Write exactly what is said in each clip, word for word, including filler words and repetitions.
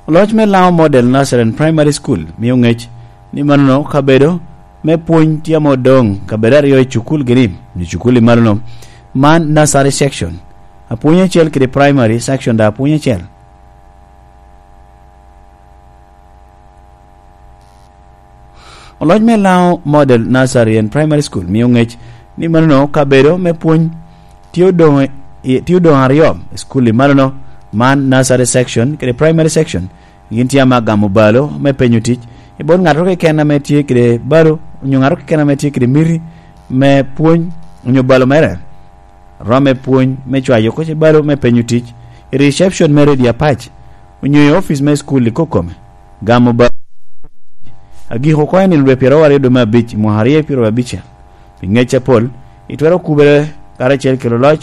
Loc me Lango Model Nursery and Primary School mio ŋec ni manono kabedo me pwony tye ame odoŋ kabedo aryo i cukul gini, i cukul i manono. Man nursery section, apwony acel kede primary section da apwony acel. Oloc me Lango Model Nursery and Primary School mio ŋec ni manono kabedo me pwony tye odoŋ i, tye odoŋ aryo i skul i manono, man nursery section kede primary section. Gin tye ame agamo balo me penyo tic i bot ŋato keken ame tye kede balo, onyo ŋato keken ame tye kede miti me pwony, onyo balo mere. Romo me pwony me cwayo kocci balo me penyo tic i reception me Redio Apac, onyo i ofic me cukul i kokome. Gamo balo agik oko i nino dwe pyeraryo dwe me abic i mwaka aryo pyeraryo abicel. Pi ŋec apol, itwero kubere karacel kede oloc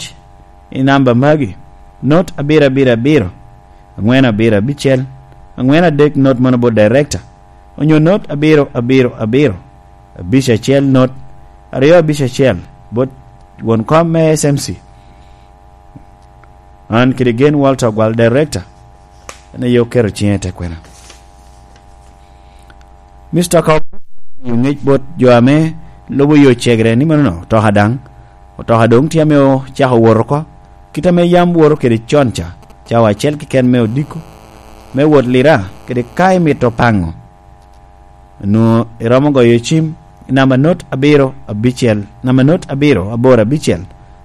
i namba magi: not abiro abiro abiro, angwen abiro abicel, angwen adek not mano bot director, onyo not abiro abiro abiro, abic acel not, aryo abic acel bot won kom me S M C. An kede Gen Walter Ogwal, director, en aye oketo ciŋe i te kwena. Mister Kaw, yo ŋec bot jo ame lubo yo cegere ni manono otoka daŋ, otoka doŋ tye ame ocako wot oko, kit ame yam woto kede con ca, cawa acel keken me odiko, me wot Lira, kede ka imito paŋo, nwoŋo iromo goyo cim i namba not abiro abicel, namba not abiro aboro abicel,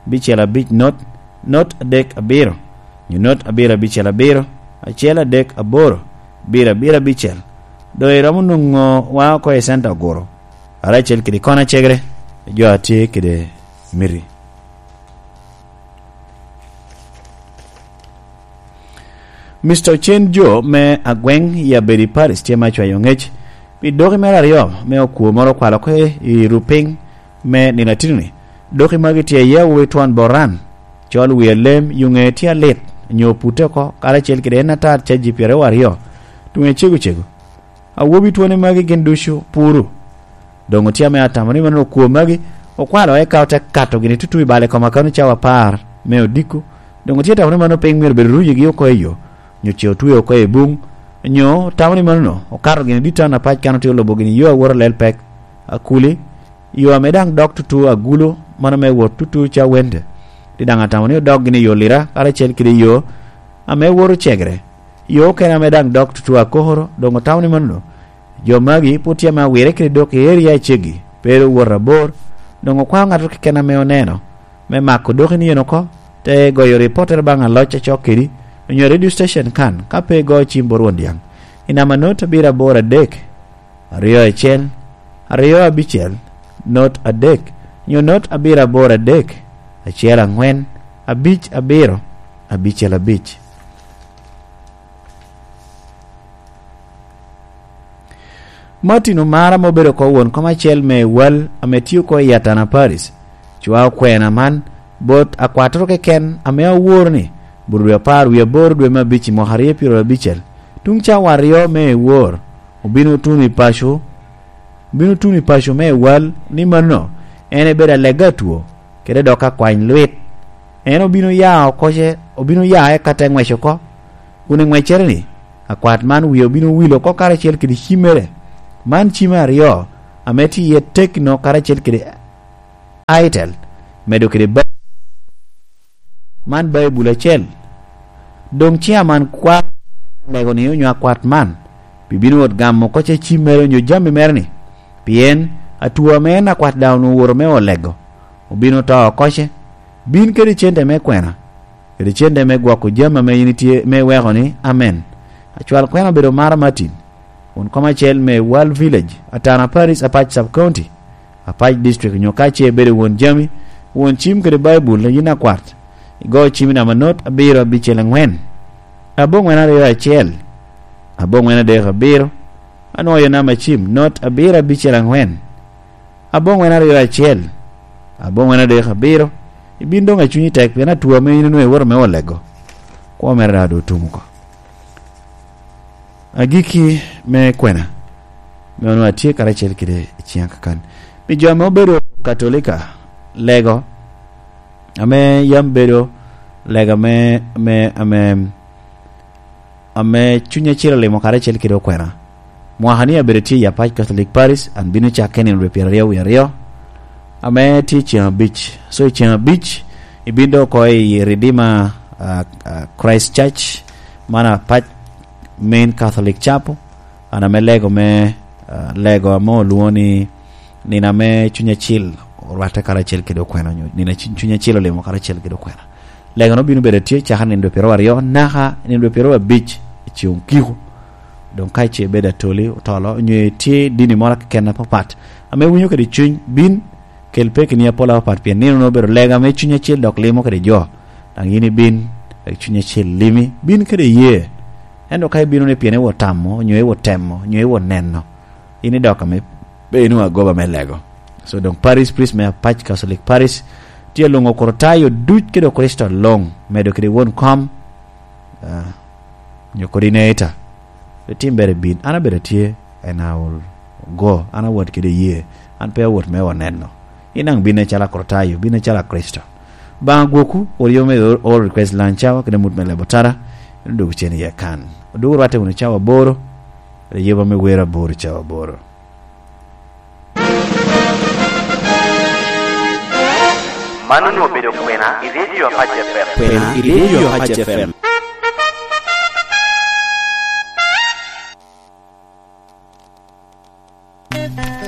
abicel abic not, not adek abiro, nyo not abiro abicel abiro, acel adek aboro, abiro abiro abicel. Doŋ iromo nwoŋo wa oko i center Oguro, karacel kede kona cegere, jo a tye kede miti. Mister Ocen Jo me Agweng i Abedi Parish tye me acwayo ŋec pi doki mere aryo me okwo moro okwalo oko i Rupiny me nino atino-ni. Doki magi tye iye awobi twon Boran, col wie lem, yo ŋeye tye alit, nyo opute oko, karacel kede en atar caji pyeraryo aryo, tunge cego cego. Awobi twone magi gin ducu puru. Doŋ otye ame atamo ni mano okwo magi okwalo eka ote kato gini tutu i bal i kom akano cawa apar me odiko. Doŋ otye atamo ni mano piny myero bed ruyigi oko i yo, nyo ce otweo oko i buŋ, nyo otamo ni mano okato gini dit tan apac kan otye olubo gini yo awot alel pek, akuli, yo ame daŋ dok tutu agulo, mano me wot tutu ca wende. Ti daŋ atamo ni odok gini yo Lira, karacel kede yo ame woto cegere. Yo okene ame daŋ dok tutu akokoro, doŋ otamo ni mano, jo magi pwod tye ame awire kede dok i eria aceggi, pe ru wot abor, doŋ okwao ŋato keken ame oneno, me mako doki ni en oko, te goyo ripottere baŋ aloc acok kedi, onyo radio station kan, ka pe igo cim bot Rwon Dyaŋ. I namba not abiro aboro adek, aryo acel, aryo abicel, not adek, nyo not abiro aboro adek, acel angwen, abic abiro, abicel abic. Martin Omara ma obedo oko won kom acel me wal ame tye oko i Atana Paris, cwao kwena man bot akwattoro keken ame aworo ni, bot dwe apar wie aboro dwe me abic i mwaka aryo pyeraryo abicel, tuŋ cawa aryo me ewor, obino tuno i paco, obino tuno i paco me ewal ni mano en ebedo alega atwo, kede dok akwany lwit. En obino ya oko ce, obino ya eka te ŋwec oko. Kun i ŋweccere-ni, akwat man wie obino wilo oko karacel kede cimmere. Man cimme aryo, ame tye iye Tecno karacel kede Itel, medo kede ba-, man Baibul acel. Doŋ ce aman kwa lego-ni onyo akwat man, pi bino wot gamo oko ce cimmere onyo jami mere-ni, pien atwo ame en akwat daŋ onwoŋo owoto me olego, obino to oko ce. Bin kede cente me kwena, kede cente me gwoko jami ame in itye me weko ni, amen. Acwal kwena obedo Mara Martin, won kom acel me World Village, Atana Paris, Apac Sub County, Apac District, onyo ka ce ibedo won jami, won cim kede Baibul, yin akwat, igo cim i namba not abiro abicel angwen, aboŋwen aryo acel, aboŋwen adek abiro, anwoyo namba cim not abiro abicel angwen, aboŋwen aryo acel, aboŋwen adek abiro, ibin doŋ acunyi tek, pien atwo ame in onwoŋo iwoto me olego, kwo mere daŋ doŋ otum oko. Agikki me kwena, me onwoŋo atye karacel kede i ciŋa kakan. Pi jo ame obedo Katolika, lego, ame yam bedo lego ame, ame, ame ame Cuny Acil olimo karacel kede okwena. Mwaka ni abedo tye i Apac Catholic Parish, an bino cakke nino dwe pyeraryo wie aryo, ame tye ceŋ abic. So, i ceŋ abic, ibino dok oko i Redeemer, ah, ah, Christ Church, man Apac Main Catholic Chapel, an ame lego me, ah, lego ame olwoŋo ni nino ame Cuny Acil orwatte karacel kede okwena, onyo nino a Cuny, Cuny Acil olimo karacel kede okwena. Lego-nu bino bedo tye cakere nino dwe pyeraryo naka nino dwe pyeraryo abic i ceŋ okiko. Doŋ ka ice ibedo Atoli, Otolo, onyo itye dini moro keken apapat, ame iwinyo kede cuny, bin, kel pekini apol apapat, pien nino-nu obedo lega ame Cuny Acil dok limo kede jo. Daŋ yin ibin, wek Cuny Acil limi, bin kede iyee. Ento ka ibino ni pien iwot tamo, onyo iwot temo, onyo iwot neno, in idok ame pe inwoŋo agoba me lego. So, doŋ Parish Priest me Apac Catholic Parish tye alwoŋo Okritayo duc kede Okricito luŋ, medo kede won kom, ah, nyo coordinator. Pe tim bere bin, an abedo atye, and I will go. An awot kede iyee. An pe awot me wot neno. In daŋ bin acalo Akritayo, bin acalo Akricito. Baŋa gwokwu, wot yo me all request lunch hour, kede mut me lebo tara, en odwogo cen iye kan. Odwogo rwatte wunu cawa aboro, kede yeba me wer aboro cawa aboro. Man onwoŋo obedo kwena i Radio Apac F M. Kwena i Radio Apac F M.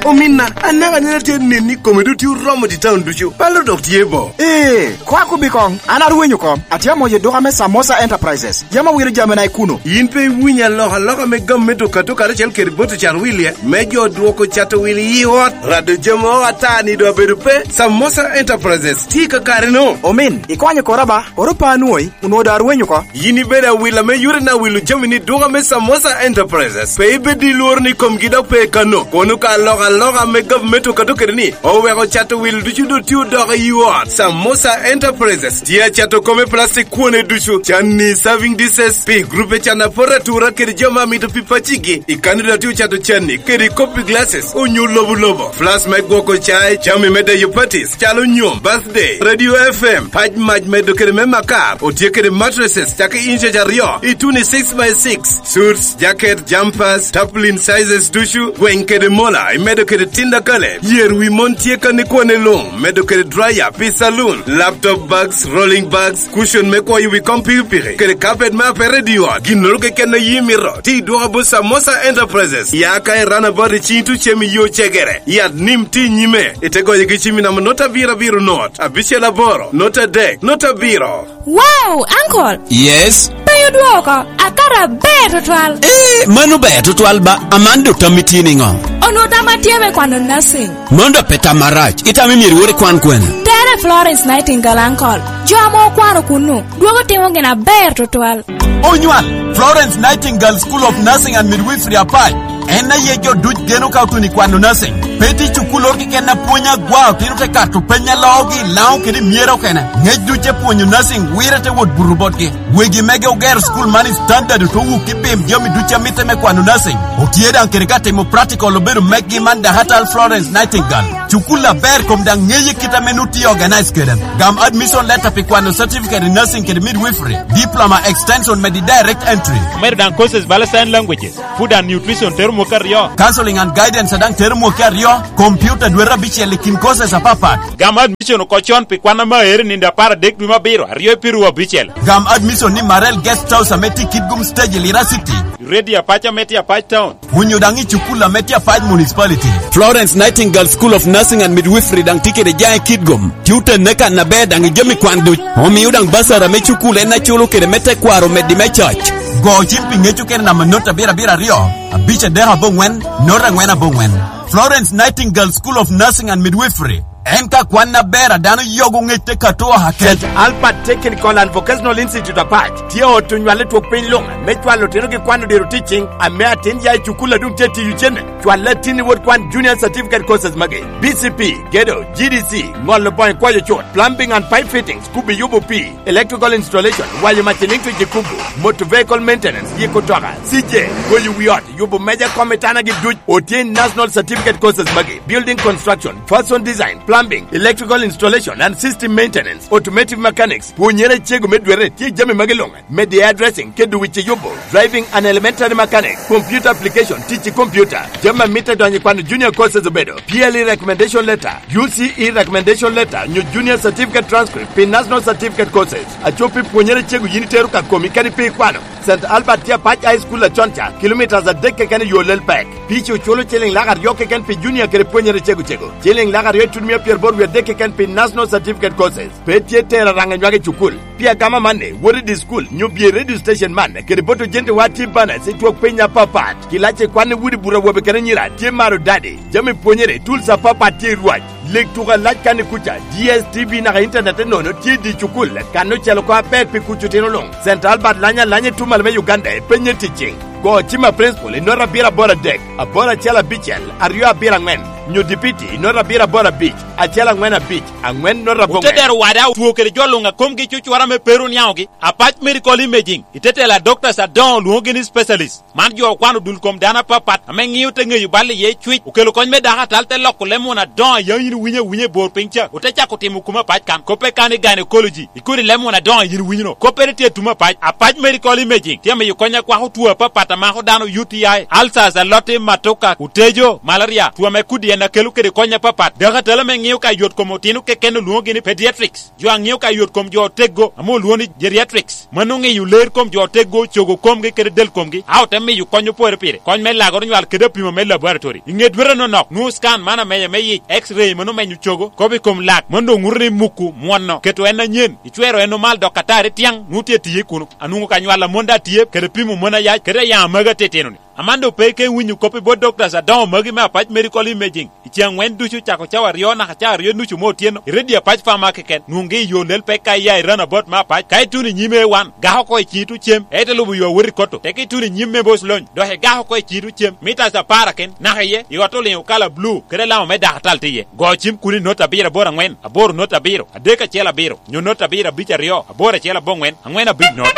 Ominna, anaka anena tye neni kome dok tye oromo i taun ducu. Palo dok tye bo. Ee. Kwak obi koŋ, an arwenyo kom. Atye amoyo duka me Samosa Enterprises. Yam awilo jamina i kuno. Yin pe iwinyo alokaloka me gam me duka to karacel kede bot ocat wilie, me jo dwoko cato wil i ot? Rado jami o ata ni doŋ abedo pe. Samosa Enterprises tye i kakare-nu. Omin, ikonyo kora ba, oro pa anwoyi, onwoŋo doŋ arwenyo oko. Yin ibedo awila me yore na wilo jami ni duka me Samosa Enterprises. Pe ibed i lworo ni komgi dok pe kano. Kono ka alokaloka me gavumenti okato kede ni, oweko cato wil ducu doŋ tye odoko i ot. Samosa Enterprises tye acato kome plastic kwone ducu, canni, serving dishes, pi grupe can apot atura kede jo ma mito pi pacigi. I kani dok tye ocato canni kede copy glasses, onyo lobo lobo, flask me gwoko cai, jami me deyo parties, calo nyom, birthday, radio F M, pac mac medo kede me makar, otye kede mattresses, cake inches aryo, i tuni six by six, suits, jacket, jumpers, tarpaulin sizes ducu, gweny kede mola, imedo kede tinda kale, yer wi mon tye kani kwane luŋ, medo kede dryer pi saloon, laptop bags, rolling bags, cushion me kwoyo wi kom pikipiki, kede carpet me apete i ot. Ginnoro keken a yi mito, ti dwoka bot Samosa Enterprises. Ya ka i runabout i Chintu cem i yo cegere, yat nim ti nyime, ite goyo gi cim i namba not abiro abiro not, abicel aboro, not adek, not abiro. Wow, uncle! Yes? Pe odwoko, akato aber tutwal. Eh, mano ber tutwal ba, aman do tammi tye niŋo? Onwoŋo tamma tye me kwano nursing. Mano dok pe tam marac. Itamo myero iwot ikwan kwene? Tere Florence Nightingale, uncle. Jo ame okwano kunnu, dwogo timo gin aber tutwal. Onywal, Florence Nightingale School of Nursing and Midwifery Apac. En aye jo duc geno ka otuno i kwano nursing. Pe tye cukulloro keken a pwonyo agwa, otino te kato peny a loogi, Laŋo kede i myero okene. Ŋec duc te pwonyo nursing, wire te wot buto botgi. Wegi mege ogero skul man i standard, ote wuk i pim jami ducu a mitte me kwano nursing. Otye daŋ kede ka timo practical, obedo mekgi man Dakatal Florence Nightingale. Cukul aber kom daŋ ŋeye kit ame nu tye organize kede. Gam admission letter pi kwano certificate in nursing kede midwifery, diploma extension medi direct entry. Omedo daŋ courses bala sign languages, food and nutrition tero mwaka aryo. Counseling and guidance daŋ tero mwaka aryo, computer dwete abicel i kin courses apapat. Gam admission oko con pi kwan ame aero i nino apar adek dwe me abiro, aryo i piru abicel. Gam admission ni Marel Guest House ame tye i Kitgum Stage i Lira City. Radio Apac ame tye Apac Town. Onyo daŋ i cukul ame tye Apac Municipality. Florence Nightingale School of Nursing and Midwifery daŋ tye kede jaŋ i Kitgum. Tye otenne kan aber daŋ i jami kwan duc. Omio daŋ basar ame cukul en aculo kede me tekwaro omeddi me coc. Go cim pi ŋec okene namba not abiro abiro aryo, abic adek aboŋwen, not angwen aboŋwen. Florence Nightingale School of Nursing and Midwifery. En ka kwan aber a dano yogo ŋec te kato oha kec. Saint Albert Technical and Vocational Institute Apac tye ot onywale twok piny luŋ me cwalo otino ki kwan odiro ticing ame atin ya i cukul a dum tye tiyo cene. Cwal latin i wot kwan junior certificate courses magi: B C P, gedo, G D C, ŋolo boŋo i kwayo cut, plumbing and pipe fittings, kubi yubo pii, electrical installation, wanyo mac electric i kubo, motor vehicle maintenance, yiko toka, C J, goyo wi ot, yubo meja kom i tanagi duc. Otye i national certificate courses magi: building construction, fashion design, Plumbing, electrical installation and system maintenance, automotive mechanics, pwonyere acego me dwere tye jami magi luŋ, media addressing, kede wic eyubo, driving and elementary mechanics, computer application, tic i computer, jami a mitte donyo i kwano junior courses obedo, P L E recommendation letter, U C E recommendation letter, nyo junior certificate transcript pi national certificate courses, acop i pwonyere acego yin itero ka komi kadi pe ikwano. Saint Albert tye Apac High School acon ca, kilomitas adek keken i yo lel pek. Pici oculo ciliŋ lak aryo keken pi junior kede pwonyere cego cego, ciliŋ lak aryo i tutumia pyeraboro wie adek keken pi national certificate courses. Pe tye tero araŋa nywage i cukul. Pi agama manni, wot i di cukul, nyo bye i radio station man, kede bot ojente wa tye banas i twok piny apapat. Kilac i kwan i wudi bur awobe kede anyira tye maro dadi. Jami pwonyere, tools apapat tye i rwac. Leg tuko alac kan i kuca, D S T V naka internet nono tye i di cukul, kan ocel oko aber pi kuc otino luŋ. Saint Albert lanya alanya i tumal me Uganda i penye ticing. Go cima principal i nota abiro aboro adek, aboro acel abicel, aryo abiro angwen, nyo dipiti i nota abiro aboro abic, acel angwen abic, angwen nota abongwen. Otedero wada otwo kede jo luŋ a komgi cucura me pero niaŋogi, Apac Medical Imaging, i tetela doctors adoŋo lwoŋogi ni specialist. Man jo okwano dul kom dano apapat ame ŋio te ŋeyo bal iye cwic, okelo kony me dako atal te loko leb muna adoŋo a yaŋ yin winyo awinya i bor piny ca, ote cako timo kume apac kan. Koppe kan i gynecology, i kodi leb muna adoŋo a yin winyono. Koppere tye i tume apac. Apac Medical Imaging tye amiyo kony akwako two apapat a mako dano, U T I, ulcers, aloti, matoka, otejo, malaria, two ame kodi en akelo kede kony apapat. Dako atal ame ŋio ka yot kom otino keken olwoŋogi ni pediatrics. Jo a ŋeo ka yot kom jo oteggo ame olwoŋo ni geriatrics, mano ŋeyo ler kom jo oteggo, cogo komgi kede del komgi, a ote miyo kony opore pire. Kony me lagoro nywal kede apimo me laboratory. I ŋe dwete nonok, nwoŋo scan man ameye me yic, X-ray mano menyo cogo, kop i kom lak, mano doŋ ŋuto ni muku mwono, keto en anyen, icwero en omal dok atari tiaŋ, nwoŋo tye tiye kuno. Anwoŋo ka nywal amon daŋ tye, kede pimo mon ayac, kede ayaŋ amagi atitino-ni. Amando pe ike winyo kop i bot doctors adoŋo magi me Apac Medical Imaging. I ceŋ angwen ducu cako cawa aryo naka cawa aryo nucu me otyeno, i redio Apac Farmer keken, nwoŋgi i yo lel pek ka iya i roundabout me Apac, ka ituno i nyim A one, gak oko i ciŋi tuŋ cem, ite lubo yo awot i Kotto, teke ituno i nyim me Boc Lony, dok igak oko i ciŋi tuŋ cem, mitas apar aken, naka iye, i ot oliŋo kala blu, kede alama me dako atal tye iye. Go cim kuno i not abiro aboro angwen, aboro not abiro, adek acel abiro, nyo not abiro abic aryo, aboro acel aboŋwen, angwen abic not.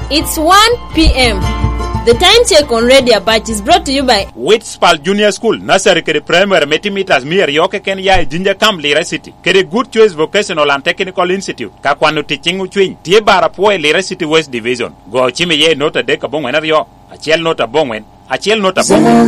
It's one p.m. The time check on Radio Apac is brought to you by Witspal Junior School, Nursery kede Primary me timitas mia aryo keken ya i Jinja Camp, Lira City, kede Good Choice Vocational and Technical Institute. Ka kwano tic ciŋ ocwiny, tye bar apwo i Lira City West Division. Go cim iye i not adek aboŋwen aryo, acel not aboŋwen, acel not aboŋwen.